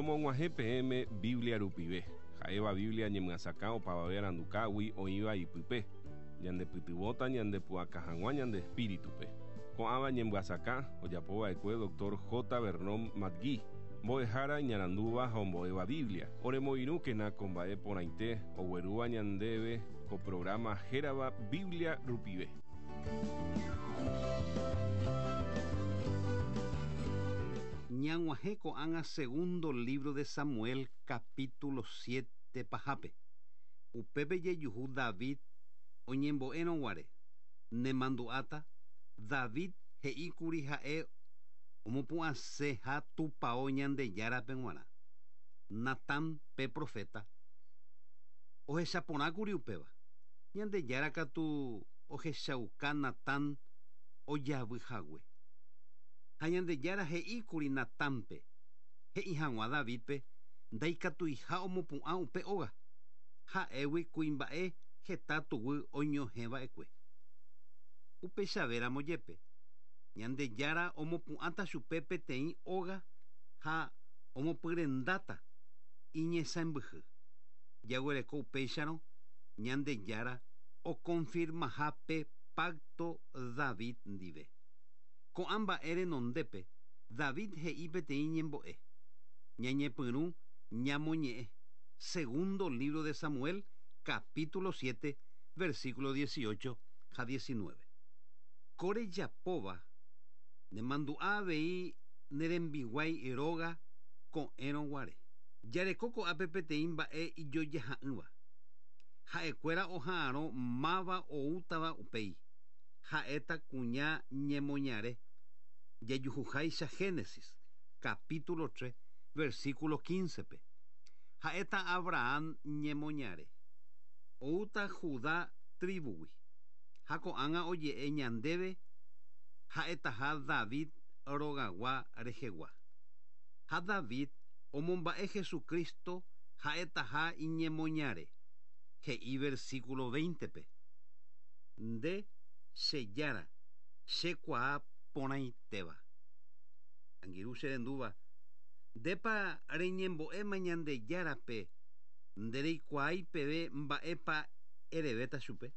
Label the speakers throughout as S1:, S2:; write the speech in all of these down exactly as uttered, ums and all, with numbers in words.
S1: Romog̃uahẽ peẽme Biblia rupive. Ha'éva Biblia ñemyasakã opavave arandukágui oĩva ipype. Ñandepytyvõta ñandepu'aka hag̃ua ñande espíritupe. Ko'ãva ñemyasakã ojapova'ekue doctor J. Vernon McGee, mbo'ehára iñarandúva ha ombo'éva Biblia. Oremoirũkena ko mba'e porãite oguerúva ñandéve ko programa hérava Biblia rupive.
S2: Ñag̃uahẽ ko'ág̃a segundo libro de Samuel capítulo siete pahápe. Upépe jejuhu David oñembo'érõguare. Nemandu'áta David he'íkuri ha'e omopu'ãseha tupão Ñandejárape g̃uarã. Natán pe profeta ohechaporãkuri upéva. Ñandejára katu ohechauka Natán ojavyhague. Ha Ñandejára he'íkuri Natánpe he'i hag̃ua Davidpe ndaikatuiha omopu'ã upe óga. Ha'égui kuimba'e heta tuguy oñohẽva'ekue. Upechavéramo jepe Ñandejára omopu'ãta chupe peteĩ óga ha omopyrendáta iñesãmbyhy. Jaguereko upéicharõ Ñandejára okonfirmaha pe pacto David ndive. Ko'ã mba'e renondépe David he'i peteĩ ñembo'e. Ñañepyrũ ñamoñe'ẽ. Segundo libro de Samuel, capítulo siete, versículo dieciocho ha diecinueve. Kore japóva nemandu'a avei nerembiguái róga ko'ẽrõguare. Jareko ko'ápe peteĩ mba'e ijojaha'ỹva. Ha'ekuéra oha'arõ máva oútava upéi. Ha'éta kuña ñemoñare. Jajuhuháicha Génesis, capítulo tres, versículo quince-pe. Ha'éta Abraham ñemoñare. Oúta Judá tribugui. Ha ko'ág̃a oje'e ñandéve ha'etaha David rogagua rehegua. Ha David omomba'e Jesucristo ha'etaha iñemoñare. He'i versículo veinte-pe. Nde che jára, chekuaa porãitéva. Angirũ che rendúva, ndépa reñembo'éma Ñandejárape ndereikuaái peve mba'épa erevéta chupe.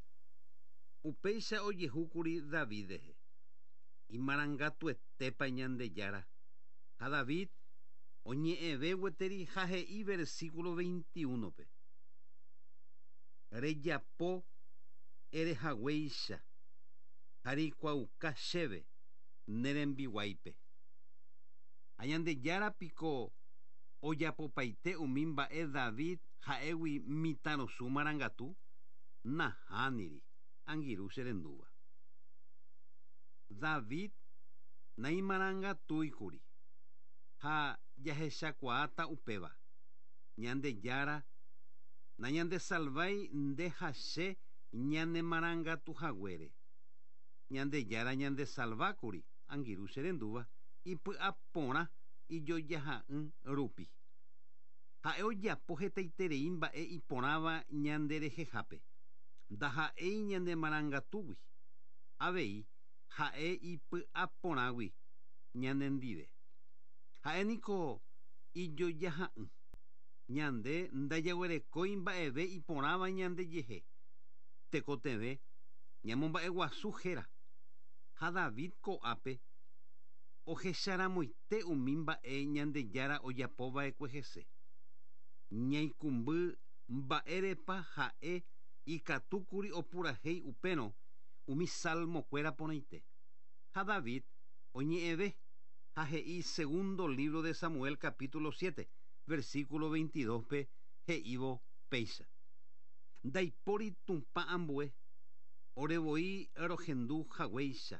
S2: Upéicha ojehúkuri David rehe. Imarangatuetépa Ñandejára. Ha David oñe'ẽve gueteri ha he'i versículo veintiuno-pe. Rejapo erehaguéicha ha reikuaauka chéve nerembiguáipe. Ha Ñandejára piko ojapopaite umi mba'e David ha'égui mitãrusu marangatu? Nahániri, angirũ che rendúva. David naimarangatúikuri ha jahechakuaáta upéva. Ñandejára nañandesalvái nde ha che ñanemarangatuhaguére. Ñandejára ñandesalvákuri, angirũ che rendúva, ipy'aporã ijojaha'ỹ rupi. Ha'e ojapo hetaiterei mba'e iporãva ñanderehehápe. Ndaha'éi ñanemarangatúgui. Avei ha'e ipy'aporãgui ñanendive. Ha'e niko ijojaha'ỹ. Ñande ndajaguerekói mba'eve iporãva ñandejehe. Tekotevẽ ñamomba'eguasu héra. Ha David ko'ápe ohecharamoite umi mba'e Ñandejára ojapova'ekue hese. Ñaikũmby mba'érepa ha'e ikatúkuri opurahéi upérõ umi salmokuéra porãite. Ha David oñe'ẽve ha he'i segundo libro de Samuel capítulo siete, versículo veintidós-pe he'ívo péicha. Ndaipóri Tupã ambue, orevoi rohendu haguéicha.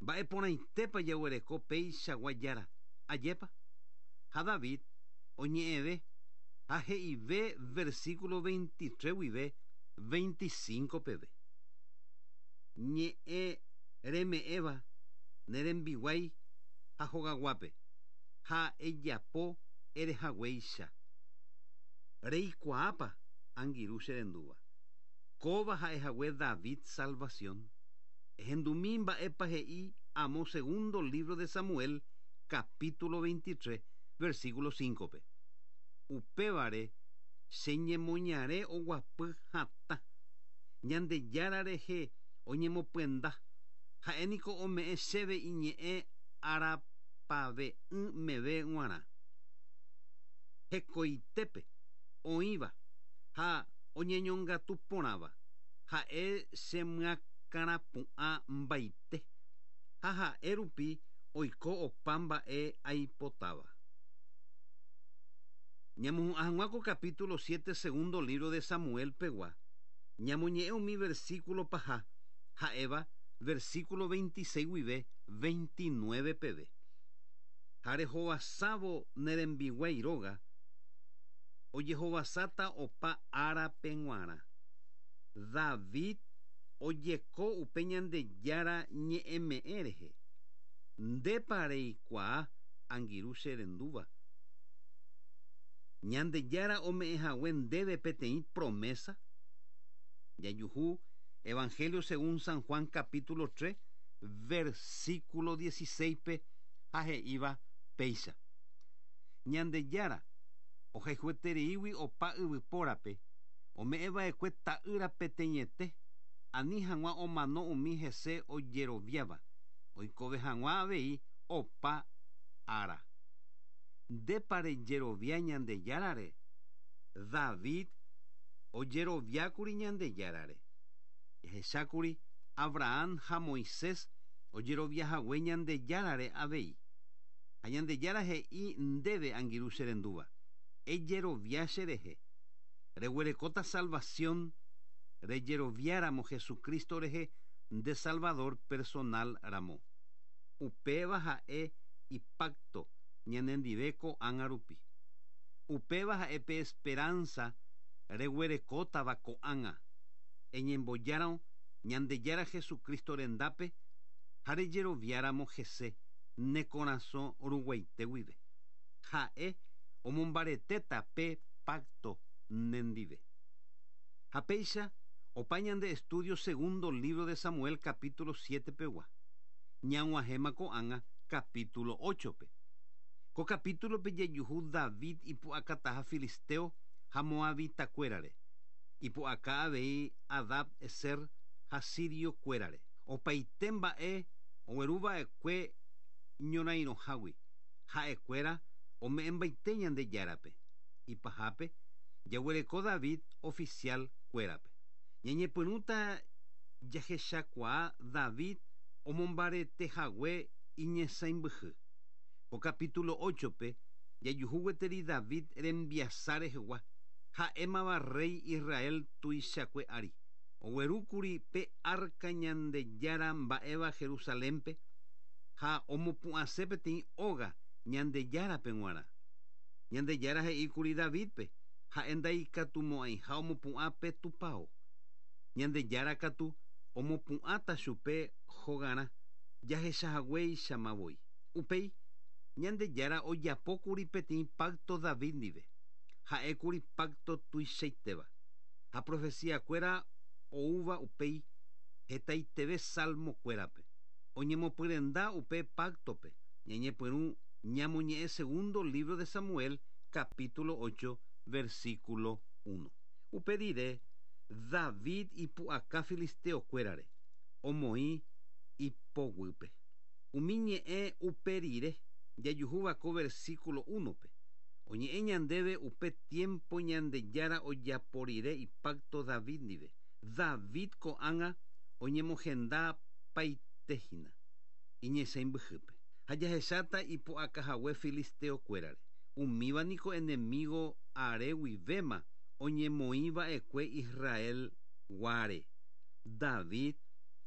S2: Mba'e porãitépa jaguereko péichagua jára, ajépa? Ha David oñe'ẽve ha he'ive versículo veintitrés guive veinticinco peve. Ñe'ẽ reme'ẽva nerembiguái ha hogaguápe ha ejapo erehaguéicha. Reikuaápa angirũ che rendúva. Kóva ha'ehague David salvación. Ehendumi mba'épa he'i amo segundo libro de Samuel, capítulo veintitrés, versículo cinco pe. Upévare che ñemoñare oguapy hatã. Ñandejára rehe oñemopyenda. Ha'éniko ome'ẽ chéve iñe'ẽ arapave'ỹ meve g̃uarã. Hekoitépe oĩva ha oñeñongatu porãva. Ha'e chemyakãrapu'ã mbaite. Ha ha'e rupi oiko opa mba'e aipotáva. Ñamohu'ã ko capítulo siete segundo libro de Samuel pegua. Ñamoñe'ẽ umi versículo paha ha'éva versículo veintiséis guive veintinueve peve. Ha rehovasávo ne rembiguái róga, ojehovasáta opa árape g̃uarã. David ojeko upe Ñandejára ñe'ẽme'ẽ rehe. Ndépa reikuaa angirũ che rendúva. Ñandejára ome'ẽhague ndéve peteĩ promesa. Jajuhu Evangelio según San Juan capítulo tres versículo dieciséis pe ha he'íva péicha. Ñandejára ohayhuetereígui opa yvypórape ome'ẽva'ekue ta'ýra peteĩete ani hag̃ua omano umi hese ojeroviáva oikove hag̃ua avei opa ára. Ndépa rejerovia Ñandejárare. David ojeroviákuri Ñandejárare. Jahechákuri Abraham ha Moisés ojeroviahague Ñandejárare avei. Ha Ñandejára he'i ndéve angirũ che rendúva. Ejerovia che rehe. Reguerekóta salvación rejeroviáramo Jesucristo rehe nde Salvador personal ramo. Upéva ha'e ipacto ñanendive ko'ág̃a rupi. Upéva ha'e pe esperanza reguerekótava ko'ág̃a. Eñembojárõ Ñandejára Jesucristo rendápe ha rejeroviáramo hese ne korasõ ruguaite guive. Ha'e omombaretéta pe pacto nendive. Ha péicha opa ñande estudio segundo libro de Samuel capítulo siete pegua. Ñag̃uahẽma ko'ág̃a capítulo ocho pe. Ko capítulo pe jajuhu David ipu'akataha filisteo ha moabitakuérare. Ipu'aka avei Adad Eser ha siriokuérare. Opaite mba'e ogueruva'ekue ñorairõhágui. Ha'ekuéra ome'ẽmbaite Ñandejárape. Ipahápe jaguereko David oficial kuérape. Ñañepyrũta jahechakuaa David omombaretehague iñesãimbyhy. Ko capítulo ocho pe jajuhu gueteri David rembiasa rehegua. Ha'émava rey Israel tuichakue ári. Oguerúkuri pe arca Ñandejára mba'éva Jerusalénpe ha omopu'ãse peteĩ óga Ñandejárape g̃uarã. Ñandejára he'íkuri Davidpe ha'e ndaikatumo'ãiha omopu'ã pe tupão. Ñandejára katu omopu'ãta chupe hogarã jahechahaguéichamavoi. Upéi Ñandejára ojapókuri peteĩ pacto David ndive. Ha'ékuri pacto tuichaitéva. Ha profeciakuéra oúva upéi hetaiteve salmokuérape. Oñemopyrenda upe pactope. Ñañepyrũ ñamoñe'ẽ segundo libro de Samuel capítulo ocho versículo uno. Upe rire David ipu'aka filisteokuérare omoĩ ipoguýpe. Umi ñe'ẽ upe rire jajuhúva ko versículo uno pe. Oñe'ẽ ñandéve upe tiempo Ñandejára ojapo rire ipacto David ndive. David ko'ág̃a oñemohenda paitehína iñesãimbyhýpe. Ha jahecháta ipu'akahague filisteokuérare. Umíva niko enemigo areguivéma oñemoĩva'ekue Israel guare. David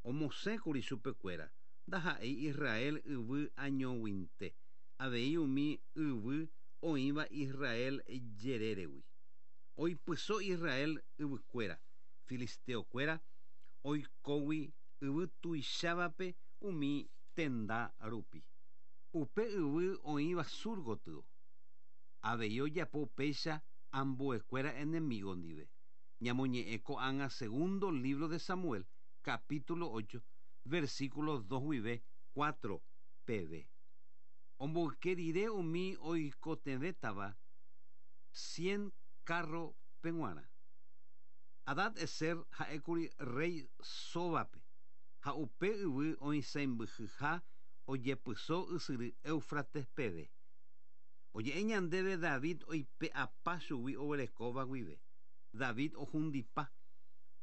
S2: omosẽkuri chupekuéra ndaha'éi Israel yvy añoguinte. Avei umi yvy oĩva Israel jeréregui. Oipyso Israel yvykuéra, filisteokuéra oikógui yvy tuichávape umi tenda rupi. Upe yvy oĩva sur gotyo. Avei ojapo upéicha ambuekuéra enemigo ndive. Ñamoñe'ẽ ko'ág̃a segundo libro de Samuel, capítulo ocho, versículo dos guive cuatro peve. Omboyke umi oikotevẽtava cien carro peg̃uarã. Hadad Ezer ha'ékuri rey Sobape ha upe yvy oisãmbyhyha ojepyso ysyry Éufrates peve. Oje'e ñandéve David oipe'apa chugui oguerekóva guive. David ohundipa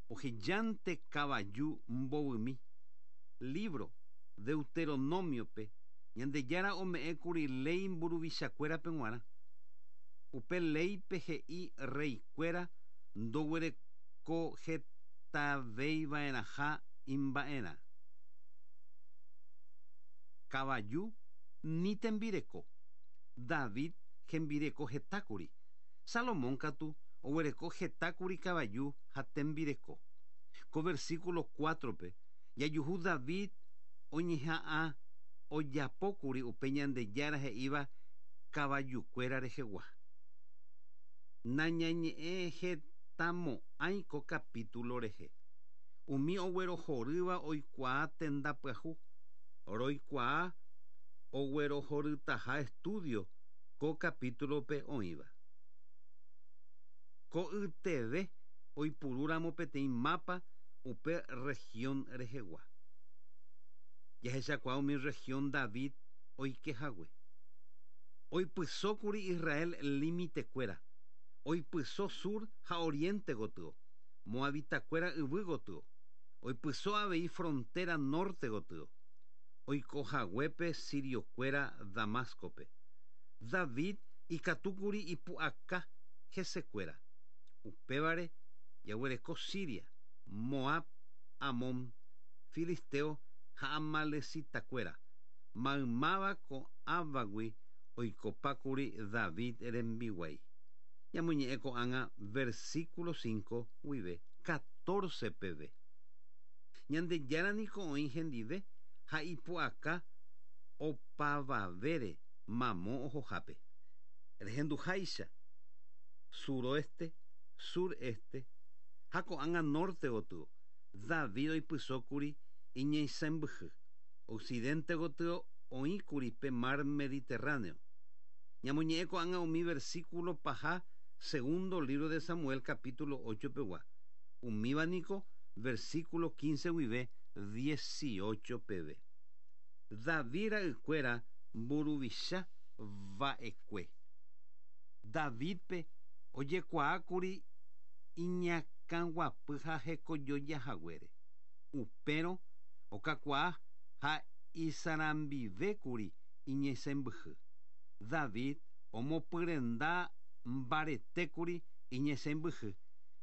S2: ohejánte kavaju mbovymi. Libro Deuteronomiope Ñandejára ome'ẽkuri léi mburuvichakuérape g̃uarã. Upe léipe he'i reykuéra ndoguerekohetaveiva'erãha imba'erã. Kavaju ni tembireko. David hembireko hetákuri. Salomón katu oguereko hetákuri kavaju ha tembireko. Ko versículo cuatro-pe jajuhu David oñeha'ã ojapókuri upe Ñandejára he'íva kavajukuéra rehegua. Nañañe'ẽ hetamo'ãi ko capítulo rehe. Umi oguerohorýva oikuaa tenda pyahu. Roikuaa oguerohorytaha estudio ko capítulo-pe oĩva. Ko yteve oipurúramo peteĩ mapa upe región rehegua. Jahechakuaa umi región David oikehague. Oipysókuri Israel limitekuéra. Oipyso sur ha oriente gotyo. Moabitakuéra yvy gotyo. Oipyso avei frontera norte gotyo. Oikohaguépe siriokuéra Damascope. David ikatúkuri ipu'aka hesekuéra. Upévare jaguereko Siria, Moab, Amón, Filisteo ha amalecitakuéra. Maymáva ko'ãvagui oikopákuri David rembiguái. Ñamoñe'ẽ ko'ág̃a versículo cinco guive catorce peve. Ñandejára niko oĩ hendive ha ipu'aka opavavére mamo ohohápe. Rehenduháicha suroeste, sureste ha ko'ág̃a norte gotyo. David oipysókuri iñeisãmbyhy. Occidente gotyo oĩkuri pe mar Mediterráneo. Ñamoñe'ẽ ko'ág̃a umi versículo paha segundo libro de Samuel capítulo ocho pegua. Umíva niko versículo quince guive dieciocho peve. David ra'ykuéra mburuvicha va'ekue. Davidpe ojekuaákuri iñakãguapy ha hekojojahaguére. Upérõ okakuaa ha isarambivékuri iñesẽmbyhy. David omopyrenda mbaretékuri iñesẽmbyhy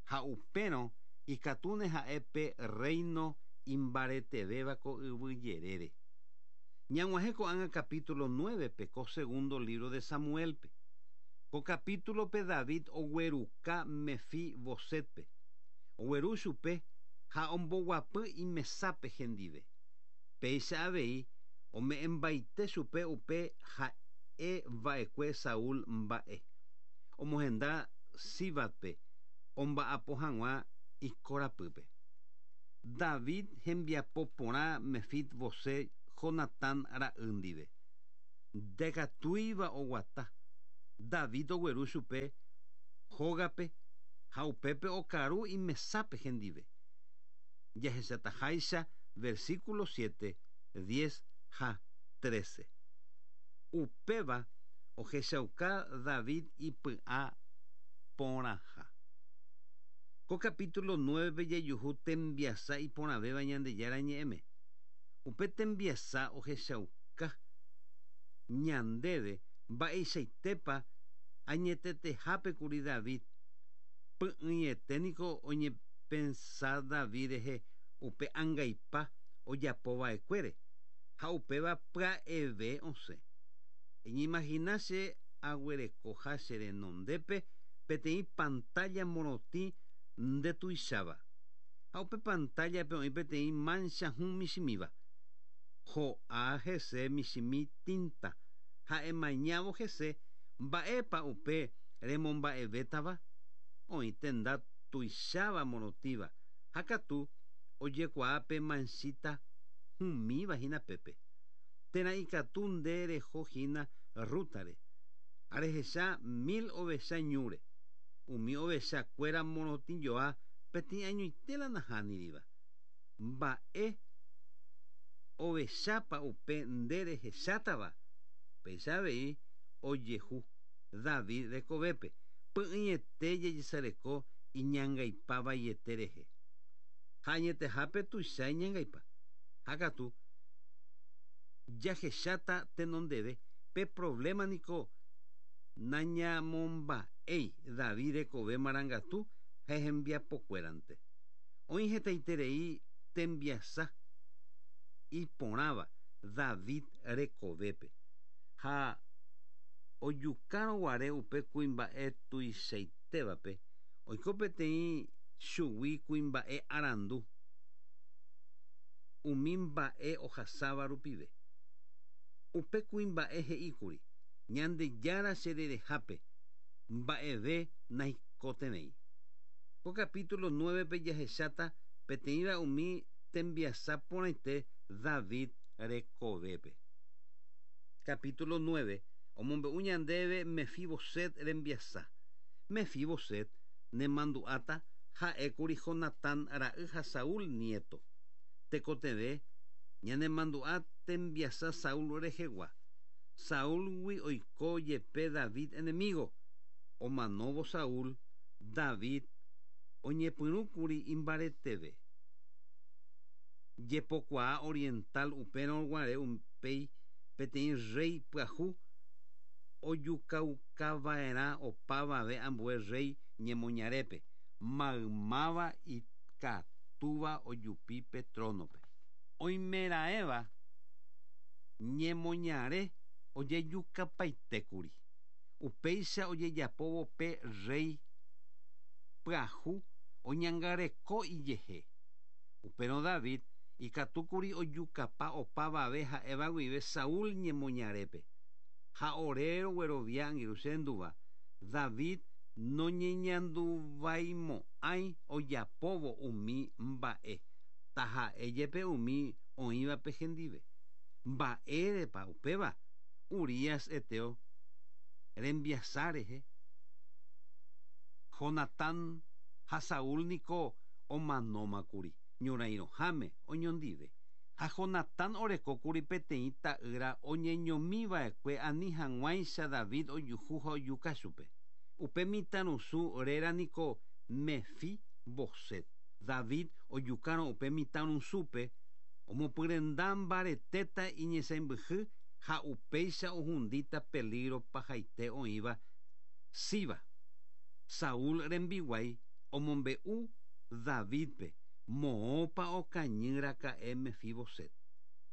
S2: ha upérõ ikatúne ha'e pe reino imbaretevéva ko yvy jerére. Ñag̃uahẽ ko'ág̃a capítulo nueve-pe ko segundo libro de Samuelpe. Ko capítulo-pe David ogueruka Mefi-Bosetpe. Ogueru chupe ha omboguapy imesápe hendive. Péicha avei ome'ẽmbaite chupe upe ha'e va'ekue Saúl mba'e. Omohenda Síbatpe omba'apo hag̃ua ikorapýpe. David hembiapo porã Mefi-Boset Jonatán ra'y ndive. Ndekatúiva oguata. David ogueru chupe hógape ha upépe okaru imesápe hendive. Jahechataháicha versículo siete, diez ha trece. Upéva ohechauka David ipy'a porãha. Ko capítulo nueve jajuhu tembiasa iporãvéva Ñandejára ñe'ẽme. Upe tembiasa ohechauka ñandéve mba'eichaitépa añetetehápekuri David. Py'ỹiete niko oñepensa David rehe upe angaipa ojapova'ekuére ha upéva pya'eve osẽ. Eñeimagina che aguerekoha che renondépe peteĩ pantalla morotĩ ndetuicháva. Ha upe pantallape oĩ peteĩ mancha hũ michĩmíva. Ho'a hese michĩmi tinta ha emañávo hese mba'épa upe remomba'evétava oĩ tenda tuicháva morotĩva ha katu ojekuaa pe manchita hũmíva hína pépe. Térã ikatu nde reho hína rútare. Ha rehecha mil ovecha ñúre. Umi ovechakuéra morotĩjoa peteĩ añoite la nahániriva. Mba'e ovechápa upe nde rehechátava. Péicha avei ojehu David rekovépe. Py'ỹiete jejesareko iñangaipa vaiete rehe. Ha añetehápe tuicha iñangaipa. Ha katu jahecháta tenondeve pe problema niko nañamomba'éi David rekove marangatu ha hembiapokuérante. Oĩ hetaiterei tembiasa iporãva David rekovépe. Ha ojukárõguare upe kuimba'e tuichaitévape oiko peteĩ chugui kuimba'e arandu umi mba'e ohasáva rupive. Upe kuimba'e he'íkuri Ñandejára chererehápe mba'eve naikotevẽi. Ko capítulo nueve-pe jahecháta peteĩva umi tembiasa porãite David rekovépe. Capítulo nueve omombe'u ñandéve Mefiboset rembiasa. Mefiboset nemandu'áta ha'ékuri Jonatán ra'y ha Saúl nieto. Tekotevẽ ñanemandu'a tembiasa Saúl rehegua. Saúlgui oiko jepe David enemigo. Omanóvo Saúl, David oñepyrũkuri imbareteve. Jepokuaa oriental upérõguare upéi peteĩ rey pyahu ojukaukava'erã opavave ambue rey ñemoñarépe maymáva ikatúva ojupi pe tronope. Oimeraẽva ñemoñare ojejukapaitékuri. Upéicha ojejapóvo pe rey pyahu oñangareko ijehe. Upérõ David ikatúkuri ojukapa opavave ha'éva guive Saúl ñemoñarépe. Ha ore roguerovia angirũ che rendúva David noñeñanduvaimo'ãi ojapóvo umi mba'e taha'e jepe umi oĩvape hendive. Mba'érepa upéva Urías heteo rembiasa rehe. Jonatán ha Saúl niko omanómakuri ñorairõháme oñondive. Ha Jonatán orekókuri peteĩ ta'ýra oñeñomiva'ekue ani hag̃uáicha David ojuhu ha ojuka chupe. Upe mitãrusu réra niko Mefiboset. David ojukárõ upe mitãrusúpe omopyrenda mbaretéta iñesãmbyhy ha upéicha ohundíta peligro pahaite oĩva Siba. Saúl rembiguái omombe'u Davidpe moõpa okañýraka'e Mefiboset.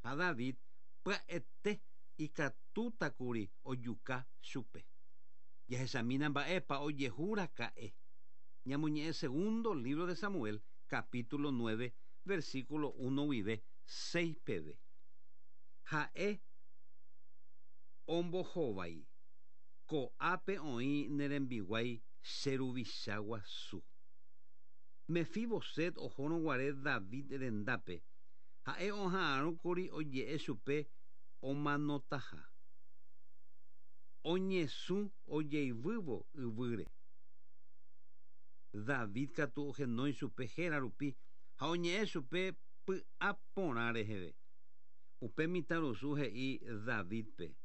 S2: Ha David pya'ete ikatútakuri ojuka chupe. Jahechamína mba'épa ojehúraka'e. Ñamoñe'ẽ segundo libro de Samuel, capítulo nueve, versículo uno guive seis peve. Ha'e ombohovái ko'ápe oĩ ne rembiguái che ruvicha guasu. Mefiboset ohórõguare David rendápe ha'e oha'arõkuri oje'e chupe omanotaha. Oñesũ ojeivývo yvýre. David katu ohenói chupe héra rupi ha oñe'ẽ chupe py'aporã reheve. Upe mitãrusu he'i Davidpe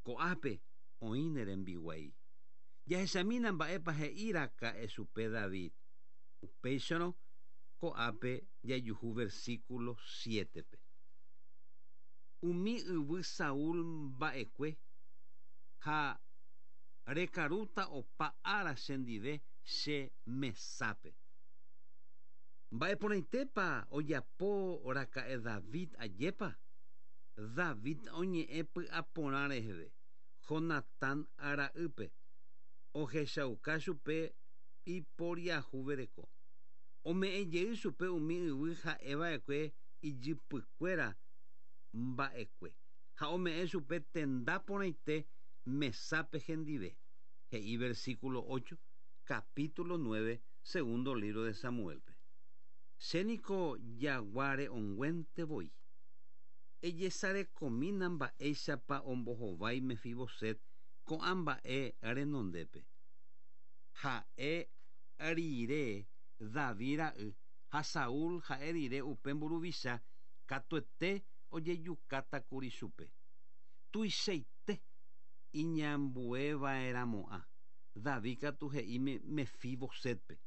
S2: ko'ápe oĩ ne rembiguái. Jahechamína mba'épa he'íraka'e chupe David. Upéicharõ ko'ápe jajuhu versículo siete-pe. Umi yvy Saúl mba'ekue ha rekarúta opa ára chendive che mesápe. Mba'eporãitépa ojapóraka'e David ajépa. David oñe'ẽ py'aporã reheve Jonatán ra'ýpe ohechauka chupe iporiahuvereko. Ome'ẽjey chupe umi yvy ha'eva'ekue ijypykuéra mba'ekue ha ome'ẽ chupe tenda porãite mesápe hendive. He'i versículo ocho, capítulo nueve, segundo libro de Samuelpe. Che niko jagua re'õnguénte voi. Ejesarekomína mba'éichapa ombohovái Mefiboset ko'ã mba'e renondépe. Ha'e rire David ra'y ha Saúl ha'e rire upe mburuvicha katuete ojejukátakuri chupe. Tuichaite iñambueva'erãmo'ã. David katu he'i Mefibosetpe.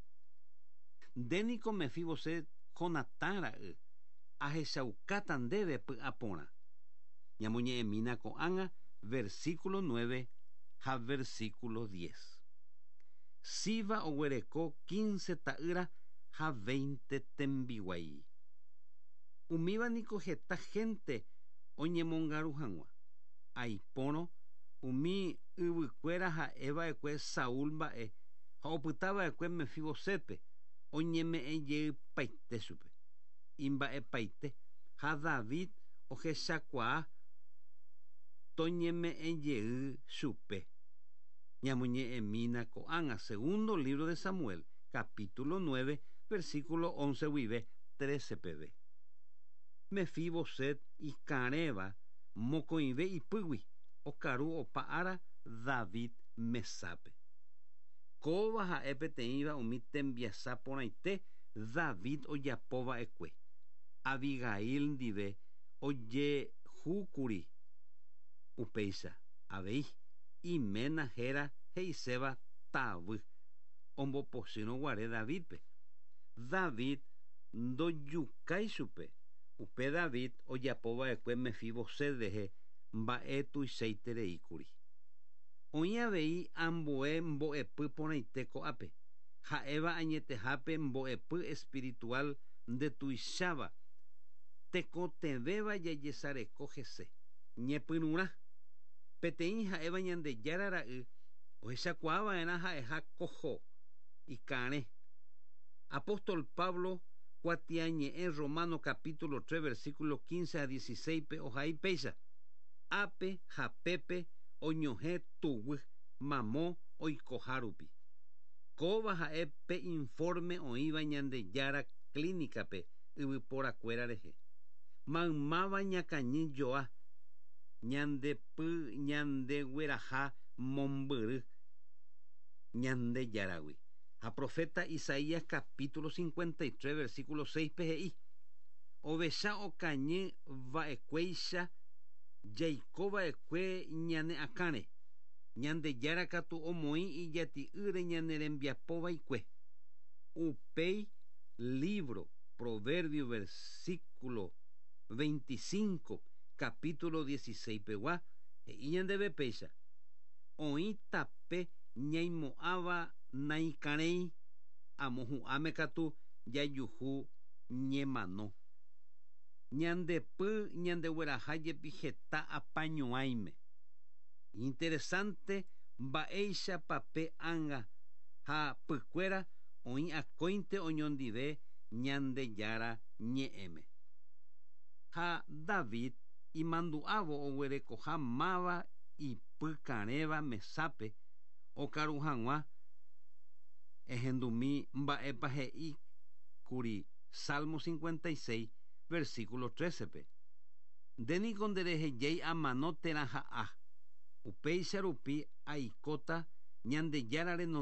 S2: Ndéniko Mefiboset Jonatán ra'y ahechaukáta ndéve py'aporã. Ñamoñe'ẽmína ko'ág̃a versículo nueve ha versículo diez. Siba oguereko quince ta'ýra ha veinte tembiguái. Umíva niko heta gente oñemongaru hag̃ua. Aipórõ umi yvykuéra ha'eva'ekue Saúl mba'e ha opytava'ekue Mefibosetpe oñeme'ẽjeypaite chupe. Imba'epaite ha David ohechakuaa toñeme'ẽjey chupe. Ñamoñe'ẽmína ko'ág̃a segundo libro de Samuel, capítulo nueve, versículo once guive trece peve. Mefiboset ikarẽva mokõive ipýgui okaru opa ára David mesápe. Kóva ha'e peteĩva umi tembiasa porãite David ojapova'ekue. Abigail ndive ojehúkuri upéicha avei iména héra he'iséva tavy ombopochýrõguare Davidpe. David ndojukái chupe. Upe David ojapova'ekue Mefiboset rehe mba'e tuichaitereíkuri. Oĩ avei ambue mbo'epy porãite ko'ápe. Ha'éva añetehápe mbo'epy espiritual ndetuicháva tekotevẽva jajesareko hese. Ñepyrũrã peteĩ ha'éva Ñandejára ra'y ohechakuaava'erã ha'eha koho ikarẽ. Apóstol Pablo kuatiañe'ẽ Romano capítulo tres versículo quince a dieciséis pe ohai péicha. Ápe ha pépe oñohẽ tuguy mamo oikoha rupi. Kóva ha'e pe informe oĩva Ñandejára clínicape yvyporakuéra rehe. Maymáva ñakañy joa ñandepy ñandegueraha mombyry Ñandejáragui. Ha profeta Isaías capítulo cincuenta y tres versículo seis pe he'i. Ovecha okañy va'ekuéicha jaikova'ekue ñane akãre. Ñandejára katu omoĩ ijati'ýre ñane rembiapova'ekue. Upéi libro Proverbio versículo veinticinco capítulo dieciséis pegua he'i ñandéve péicha. Oĩ tape ñaimo'ãva naikarẽi amohu'ãme katu jajuhu ñemano. Ñandepy ñandegueraha jepi heta apañuãime. Interesante mba'éichapa pe ánga ha pykuéra oĩ akóinte oñondive Ñandejára ñe'ẽme. Ha David imandu'ávo oguerekoha máva ipykarẽva mesápe okaru hag̃ua ehendumi mba'épa he'íkuri Salmo cincuenta y seis versículo trece pe. Ndéniko nderehejái amano térã ha'a. Upéicha rupi aikóta Ñandejára renondépe.